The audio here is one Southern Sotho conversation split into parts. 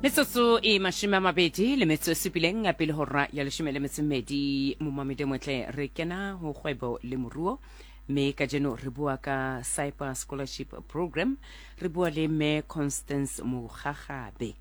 Metsotso e 27 pele hora ya 12 momamedi motle re kena ho kgwebo le moruo mme kajeno re bua ka Cyber Scholarship Program re bua le mme Constance Mogagabe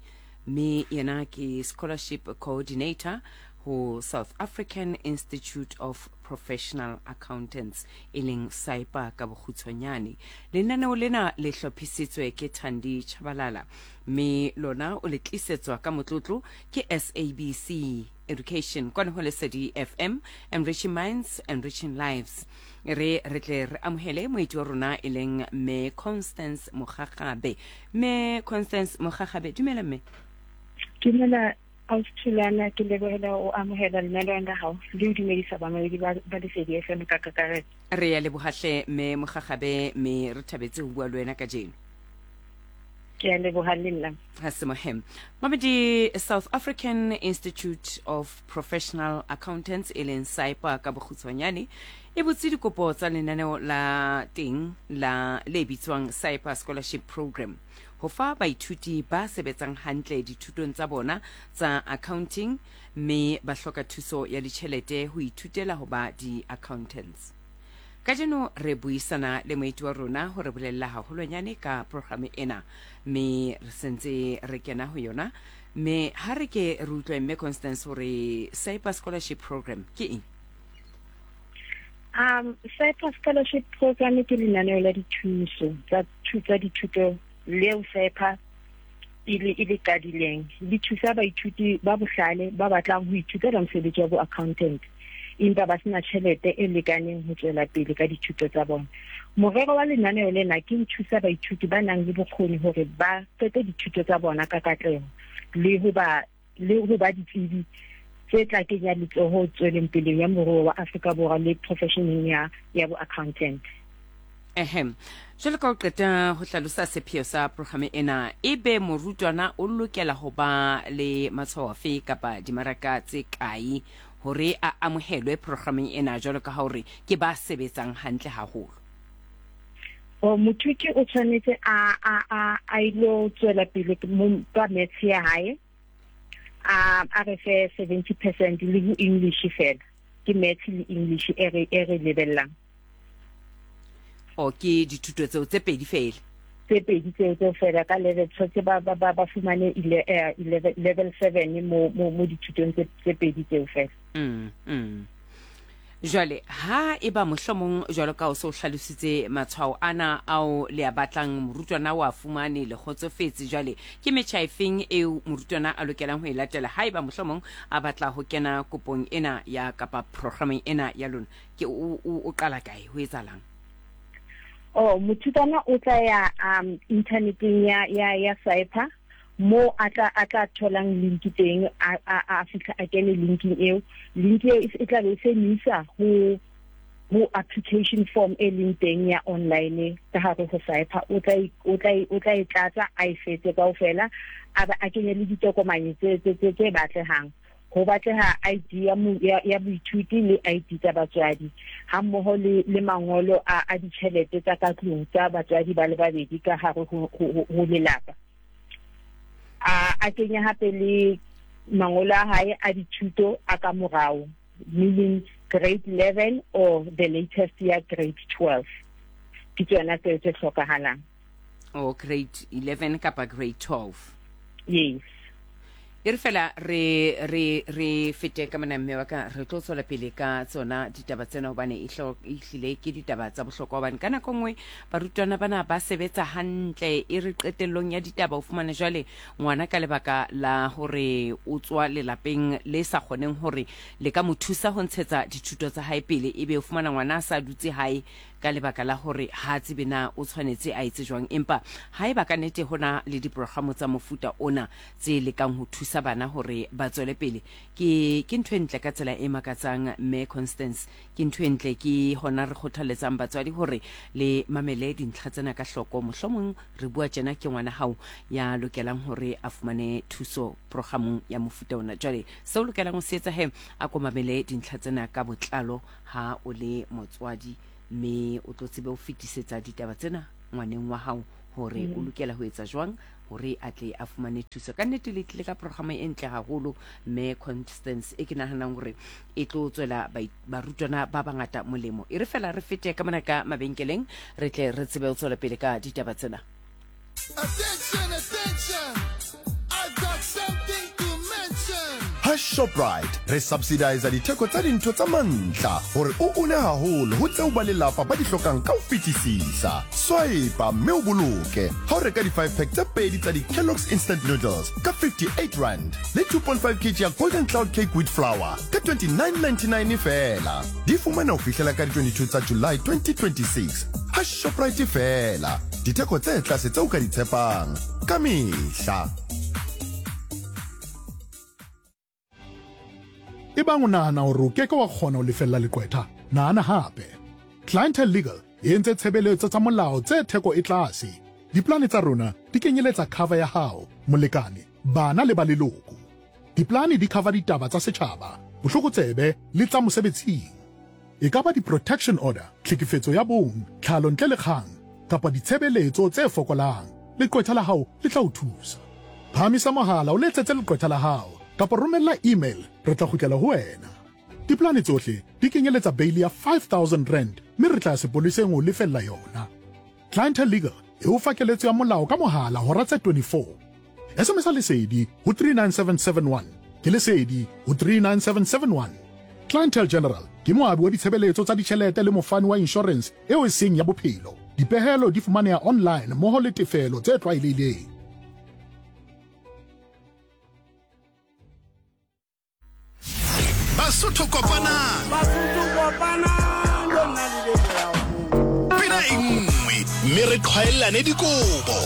mme yena ke scholarship coordinator ho South African Institute of Professional Accountants e leng SAIPA ka bokgutshwanyane. Lenaneo lena le hlophisitswe ke Thandi Chabalala mme lona o le tlisetswa ka motlotlo ke SABC Education kwano ho Lesedi FM, enriching minds, enriching lives. Re re tle re amohele moeti wa rona e leng mme Constance Mogagabe. Mme Constance Mogagabe, dumela mme. Dumela Ausi Thulana, ke lebohela o amohela lenaneong la hao le ho dumedisa bamamedi ba ba Lesedi FM ka kakaretso. Re ya leboha hle mme Mogagabe mme re thabetse ho bua le wena kajeno. Ke a leboha le nna. Ha se mohem. Mamedi South African Institute of Professional Accountants e leng SAIPA ka bokgutshwanyane e butse dikopo tsa lenaneo la teng la le bitswang SAIPA Scholarship Program ho fa baithuti ba sebetsang hantle dithutong tsa bona tsa accounting mme ba hloka thuso ya ditjhelete ho ithutela ho ba di-accountants. Kajeno re buisana le moeti wa rona ho re bolella haholwanyane ka programe ena mme re sentse re kena ho yona mme ha re ke re utlwe mme Constance hore SAIPA Scholarship Program ke eng? SAIPA Scholarship Program ke lenaneo la dithuso tsa tsa dithuto leo SAIPA e le e le qadileng. Le thusa baithuti ba bohlale ba batlang ho ithutela mosebetsi wa bo-accountant empa ba sena tjhelete e lekaneng ho tswela pele ka dithuto tsa bona. Morero wa lenaneo lena ke ho thusa baithuti ba nang le bokgoni hore ba qete dithuto tsa bona ka katleho le ho ba le ho ba ditsebi tse tla kenya letsoho tsweleng pele ya moruo wa Afrika Borwa le professioneng ya ya bo-accountant. Ehe. Jwalo ka o qeta ho hlalosa sepheo sa programe ena, ebe morutwana o lokela ho ba le matshwao afe kapa dimaraka tse kae hore a amohelwe programeng ena jwalo ka ha hore ke ba sebetsang hantle haholo? O mothuti o tshwanetse a a a a ilo tswela pele ka maths ya hae a a re fe 70% le ho English fela ke maths le English e re e re lebellang. O ke dithuto tseo tse pedi fela. Tse pedi tseo tseo fela ka level tshwanetse ba ba ba fumane level 7 mo mo mo dithutong tse tse pedi tseo fela. Jwale ha eba mohlomong jwalo ka o se o hlalositse matshwao ana ao le a batlang morutwana o a fumane le kgotsofetse jwale ke metjha efeng eo morutwana a lokelang ho e latela ha eba mohlomong a batla ho kena kopong ena ya kapa programeng ena ya lona ke o, o, o qala kae ho etsahalang? Oh, mothutwana o tla ya inthaneteng ya ya ya SAIPA mo a tla a tla tholang link teng a a a fihla a kene linking eo. Link eo e tla be e se mo isa ho ho application form e leng teng ya online ka hare ho SAIPA. O tla o tla o tla e tlatsa a e fetse kaofela a ba a kenye le ditokomane tse tse tse tse batlehang. Ho batleha ID ya ya, ya boithuti le ID tsa batswadi ha mmoho le le mangolo a a ditjhelete tsa ka tlung tsa batswadi ba le babedi ka hare ho, ho, ho lelapa. A a kenya hape le mangolo a hae a dithuto a ka morao, meaning grade 11 or the latest ya grade 12. Ke tsona tseo tse hlokahalang. O grade 11 kapa grade 12. Yes. E re fela re re re fete ka mona mme wa ka re tlo tswela pele ka tsona ditaba tsena hobane e hlile ke ditaba tsa bohlokwa hobane ka nako nngwe barutwana bana ba sebetsa hantle e re qetellong ya ditaba o fumane jwale ngwana ka lebaka la hore o tswa lelapeng le sa kgoneng hore le ka mo thusa ho ntshetsa dithuto tsa hae pele ebe o fumana ngwana a sa dutse hae ka lebaka la hore ha a tsebe na o tshwanetse a etse jwang. Empa haeba ka nete ho na le diprogramo tsa mofuta ona tse lekang ho thusa bana hore ba tswele pele, ke, ke ntho e ntle ka tsela e makatsang, Mme Constance. Ke ntho e ntle. Ke hona re kgothaletsang batswadi hore le mamele dintlha tsena ka hloko. Mohlomong re bua tjena ke ngwana hao ya lokelang hore a fumane thuso programong ya mofuta ona. Jwale seo o lokelang ho se etsa he, a ko mamele dintlha tsena ka botlalo ha o le motswadi mme o tlo tsebe ho fetisetsa ditaba tsena ngwaneng wa hao hore o lokela ho etsa jwang gore a tle a fumane thuso. Ka nnete le tlile ka programa e ntle haholo mme Constance, e ke naganang gore e tlo tswela barutwana ba bangata molemo. E re fela re fete ka mona ka mabenkeleng re tle re tsebe go tswela pele ka ditaba tsena. Attention, attention, I've got something to mention. Ha Shoprite re subsidiza ditheko tsa dintho tsa mantla gore o une haholo ho tseo ba lelapa ba di hlokang ka ho fetisisa. Swipa mme o boloke ha o reka di-5 pack tse pedi tsa di-Kellogg's Instant Noodles ka R58 le 2.5 kg ya Golden Cloud Cake Wheat Flour ka R29.99 feela. Di fumana ho fihlela ka di-22 tsa July 2026 ha Shoprite feela. Ditheko tse tlase tseo o ka di tshepang ka mehla. Ebang o nahana hore o ke ke wa kgona ho lefella leqwetha, nahana hape. Clientele Legal e entse tshebeletso tsa molao tse theko e tlase. Diplane tsa rona di kenyeletsa cover ya hao, molekane, bana le ba leloko. Diplane di cover ditaba tsa setjhaba, bohlokotsebe le tsa mosebetsing. E ka ba di-protection order, tlhekefetso ya bong, tlhalo ntle le kgang, kapa ditshebeletso tse fokolang, leqwetha la hao le tla o thusa. Phahamisa mohala o letsetse leqwetha la hao kapa romella email re tla kgutlela ho wena. Diplane tsohle di kenyeletsa beili ya R5000 mme re tla ya sepoleseng ho o lefella yona. Clientele Legal e o fa keletso ya molao ka mohala hora tse 24. SMS-a Lesedi ho 39771. Ke Lesedi ho 39771. Clientele General ke moabi wa ditshebeletso tsa ditjhelete le mofani wa inshorense eo e seng ya bophelo. Dipehelo di fumaneha online mmoho le tefelo tse tlwaelehileng. Basotho kopanang. Basotho kopanang lona le be moya o. Pina e nngwe mme re qhwaellane dikobo.